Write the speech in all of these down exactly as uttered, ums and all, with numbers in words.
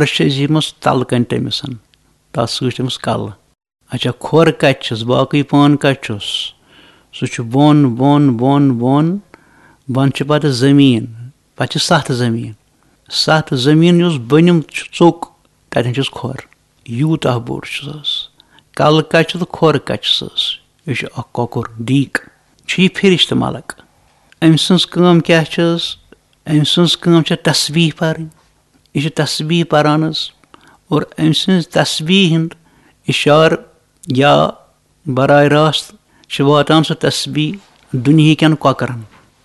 عرش عظیٖمَس تَلہٕ کَنہِ تٔمِس۔ تَتھ سۭتۍ چھِ تٔمِس کَلہٕ۔ اچھا، کھۄر کَتہِ چھِس؟ باقٕے پان کَتہِ چھُس؟ سُہ چھُ بۄن، بۄن، بۄن، بۄن۔ بۄن چھِ پَتہٕ زٔمیٖن، پَتہٕ چھِ سَتھ زٔمیٖن۔ سَتھ زٔمیٖن یُس بٔنِم چھُ ژوٚک، تَتٮ۪ن چھُس کھۄر۔ یوٗتاہ بوٚڑ چھُ سُہ۔ کَلہٕ کَتہِ چھُ تہٕ کھۄر کَتہِ چھُ سُہ؟ یہِ چھُ اَکھ کۄکُر، دیٖک۔ چھُ یہِ فِرِشتہٕ مَلَک۔ أمۍ سٕنٛز کٲم کیٛاہ چھِ حظ؟ أمۍ سٕنٛز کٲم چھےٚ تسبیٖح پَرٕنۍ۔ یہِ چھُ تسبیٖح پَران حظ۔ اور أمۍ سٕنٛز تسبیٖح ہُنٛد اِشارٕ یا براہ راست چھِ واتان سُہ تسبیٖح دُنہیٖکٮ۪ن کۄکرَن،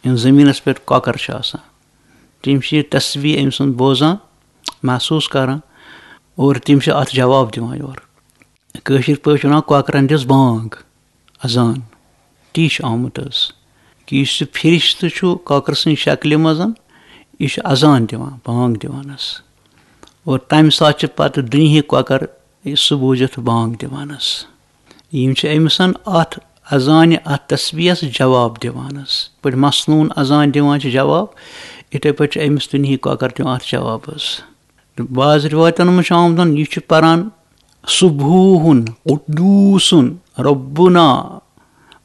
یِم زٔمیٖنَس پٮ۪ٹھ کۄکَر چھِ آسان۔ تِم چھِ یہِ تسبیٖح أمۍ سُنٛد بوزان، محسوٗس کران، اور تِم چھِ اَتھ جواب دِوان یورٕ۔ کٲشِر پٲٹھۍ وَنان، کۄکرَن دِژ بانگ، اذان۔ تی چھُ آمُت حظ، کہِ یُس یہِ فِرِشتہٕ چھُ کۄکرٕ سٕنٛدِ شکلہِ منٛز، یہِ چھُ اذان دِوان، بانگ دِوان حظ۔ اور تَمہِ ساتہٕ چھِ پَتہٕ دُنہِکۍ کۄکر یہِ سُہ بوٗزِتھ بانگ دِوان حظ۔ یِم چھِ أمِس اَتھ اذانہِ، اَتھ تسبیٖحس جواب دِوان حظ۔ یِتھ پٲٹھۍ مسنوٗن اذان دِوان چھِ جواب، یِتھَے پٲٹھۍ چھِ أمِس دُنہِکۍ کۄکر دِوان اَتھ جواب حظ۔ تہٕ بعض رِوایتَن منٛز چھُ آمُت، یہِ چھُ پَران، سُبحوٗہُن قُدوٗسُن رَبُّنا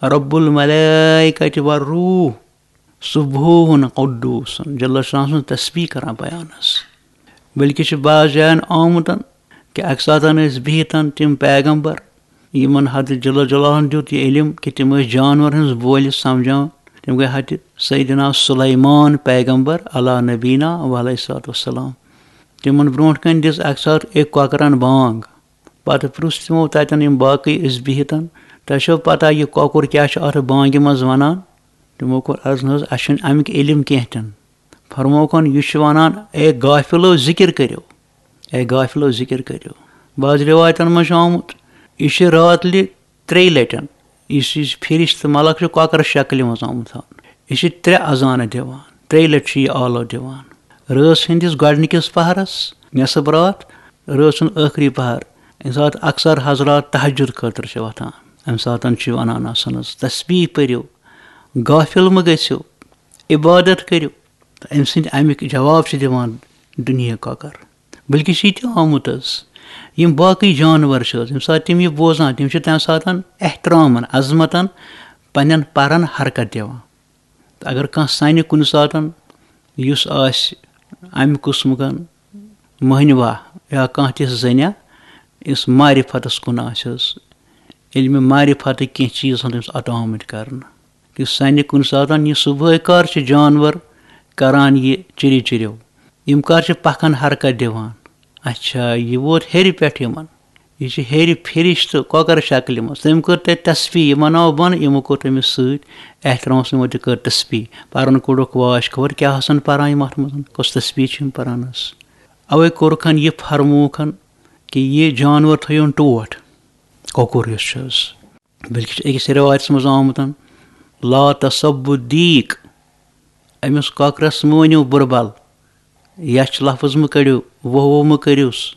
رَبُّ الْمَلَائِکَةِ وَالرُّوحِ۔ سُبحوٗہُن قُدوٗسُن، جل شانہ سُنٛد تسبیٖح کران بیان حظ۔ بلکہِ چھُ بعض جاین آمُت کہِ اَکہِ ساتہٕ ٲسۍ بِہِتھ تِم پیغمبر، یِمن حضرت جل جلالہن دیُت یہِ علم کہِ تِم ٲسۍ جانور ہٕنٛز بولہِ سمجھان۔ تِم گٔے حضرت سیدنا سلیمان پیغمبر علی نبینا و علیہ الصلوۃ والسلام۔ تِمن برونٛٹھ کنہِ دِژ اَکہِ ساتہٕ أکۍ کۄکرن بانگ۔ پتہٕ پرُژھ تِمو تتٮ۪ن، یِم باقٕے ٲسۍ بِہِتھ، "تۄہہِ چھو پتہ یہِ کۄکُر کیٛاہ چھُ اتھ بانگہِ منٛز ونان؟" تِمو کوٚر عرض، "نہ حظ، اسہِ چھُنہٕ امیُک علم کینٛہہ تہِ نہٕ۔" فرمووُکھ، "یہِ چھُ ونان، اے غافلو، ذِکِر کٔرِو، اے غافلو، ذِکِر کٔرِو۔" بعض رِوایتن منٛز چھُ آمُت، یہِ چھُ راتلہِ ترٛیٚیہِ لٹٮ۪ن، یُس یہِ فِرِشتہٕ ملک چھُ کۄکرَس شکلہِ منٛز آمُت تھاونہٕ، یہِ چھِ ترٛےٚ اذانہٕ دِوان، ترٛیٚیہِ لٹہِ چھُ یہِ آلو دِوان۔ رٲژ ہٕنٛدِس گۄڈٕنِکِس پہرس، نصف راتھ، رٲژ ہُنٛد ٲخری پہر، ییٚمہِ ساتہٕ اکثر حضرات تہجد خٲطرٕ چھِ وۄتھان، اَمہِ ساتہٕ چھُ ونان آسان حظ، "تسبیٖح پٔرِو، غافل مہٕ گٔژھِو، عبادت کٔرِو۔" تہٕ أمۍ سٕنٛدۍ اَمِکۍ جواب چھِ دِوان دُنہِکۍ کۄکر۔ بلکہِ چھِ یہِ تہِ آمُت حظ، یِم باقٕے جانور چھِ حظ، ییٚمہِ ساتہٕ تِم یہِ بوزان، تِم چھِ تَمہِ ساتہٕ احترامن، عظمتن پننٮ۪ن پرن حرکت دِوان۔ تہٕ اگر کانٛہہ سانہِ کُنہِ ساتہٕ یُس آسہِ اَمہِ قٕسمُک مٔہنِوہ یا کانٛہہ تِژھ زٔنۍ، یُس معرفتس کُن آسہِ حظ، علمِ معرفتٕکۍ کینٛہہ چیٖز آسان تٔمِس عطا آمٕتۍ کرنہٕ، یُس سانہِ کُنہِ ساتہٕ یہِ صُبحٲے کر چھِ جانور کران یہِ چِرِ چِرِو، یِم کر چھِ پکھن حرکت دِوان۔ اچھا، یہِ ووت ہیٚرِ پٮ۪ٹھ یِمن، یہِ چھِ ہیٚرِ فِرِشتہٕ کۄکر شکلہِ منٛز۔ تٔمۍ کٔر تَتہِ تسبیٖح، یِمن آو بۄن، یِمو کوٚر تٔمِس سۭتۍ احترام، یِمو تہِ کٔر تسبیٖح۔ پرن کوٚڑُکھ واش، خبر کیٛاہ آسن پران یِم اتھ منٛز، کۄس تسبیٖح چھِ یِم پران حظ۔ اوے کوٚرُکھ یہِ فرمووُکھ کہِ یہِ جانور تھٲیِو ٹوٹھ، کۄکُر یُس چھُ حظ۔ بلکہِ چھُ أکِس رِوایتَس منٛز آمُت، "لا تسبُّ الدیٖک"، أمِس کۄکرَس مہٕ ؤنِو بُرٕ بَل، یَچھ لفظ مہٕ کٔڑِو، وۄہ وۄہ مہٕ کٔرِوس۔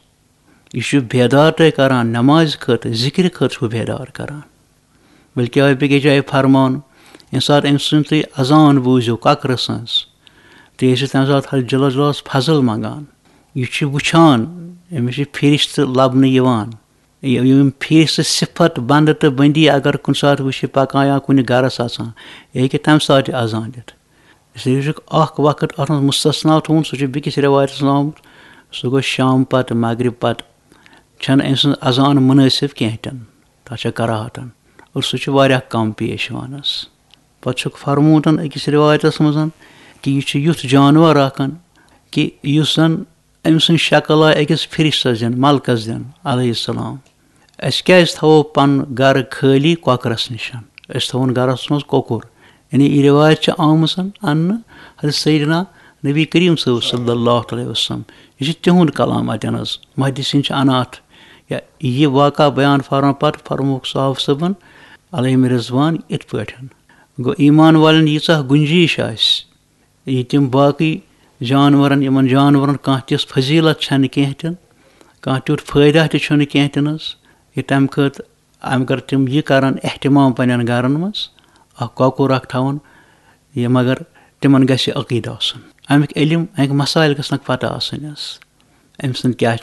یہِ چھُ بیدار تۄہہِ کران، نمازِ خٲطرٕ، ذِکرِ خٲطرٕ چھُ بیدار کران۔ بلکہِ آو بیٚکِس جایہِ فرمان، ییٚمہِ ساتہٕ أمۍ سُنٛد تُہۍ اذان بوٗزِو کۄکرٕ سٕنٛز، تُہۍ ٲسِو تَمہِ ساتہٕ حضرت جل جلالس فضل منٛگان۔ یہِ چھُ وٕچھان، أمِس چھِ فِرِشتہٕ لَبنہٕ یِوان۔ یہِ-، یِم فیس صفت بندٕ تہٕ بندی اگر کُنہِ ساتہٕ وٕچھِ پکان یا کُنہِ گرس اژان، یہِ ہیٚکہِ تمہِ ساتہٕ تہِ اذان دِتھ۔ اس لیے چھُکھ اکھ وقت اتھ منٛز مستثنا تھوٚومُت، سُہ چھُ بیٚکِس رِوایتس منٛز آمُت، سُہ گوٚو شام پتہٕ، مغرب پتہٕ، چھنہٕ أمۍ سٕنٛز اذان مُنٲسِب کینٛہہ تہِ نہٕ، تتھ چھےٚ کراہتن، اور سُہ چھُ واریاہ کم پیش یِوان حظ۔ پتہٕ چھُکھ فرمومُت أکِس رِوایتس منٛز کہِ یہِ چھُ یُتھ جانور اکھ کہِ یُس زن أمۍ سٕنٛز شکل آے أکِس فرشتس دِنہٕ، ملکس دِنہٕ، علیہ السلام۔ أسۍ کیٛازِ تھاوو پنُن گرٕ خٲلی کۄکرس نِش؟ أسۍ تھاوون گرس منٛز کۄکُر۔ یعنی یہِ رِوایت چھِ آمٕژ اننہٕ حضرت سیدنا نبی کریم صٲب صلی اللہ علیہ وسلم۔ یہِ چھُ تِہُنٛد کلام اتٮ۪ن حظ۔ محدثین چھِ انان اتھ، یا یہِ واقعہ بیان فرمان پتہٕ فرمووُکھ صحابہ صٲبن علیہم رضوان یِتھ پٲٹھۍ۔ گوٚو، ایمان والٮ۪ن ییٖژاہ گُنجٲیِش آسہِ، یہِ تِم باقٕے جانورن، یِمن جانورن کانٛہہ تِژھ فضیلت چھنہٕ کینٛہہ تہِ، کانٛہہ تیُتھ فٲیدہ تہِ چھُنہٕ کینٛہہ تہِ نہٕ حظ۔ یہِ تمہِ خٲطرٕ، اگر تِم یہِ کرن اہتمام پننٮ۪ن گرن منٛز، اکھ کۄکُر اکھ تھاون، یہِ مگر تِمن گژھِ عقیدٕ آسُن۔ امیُک علم، امیُک مسائل گژھنکھ پتہ آسٕنۍ حظ۔ أمۍ سٕنٛد کیٛاہ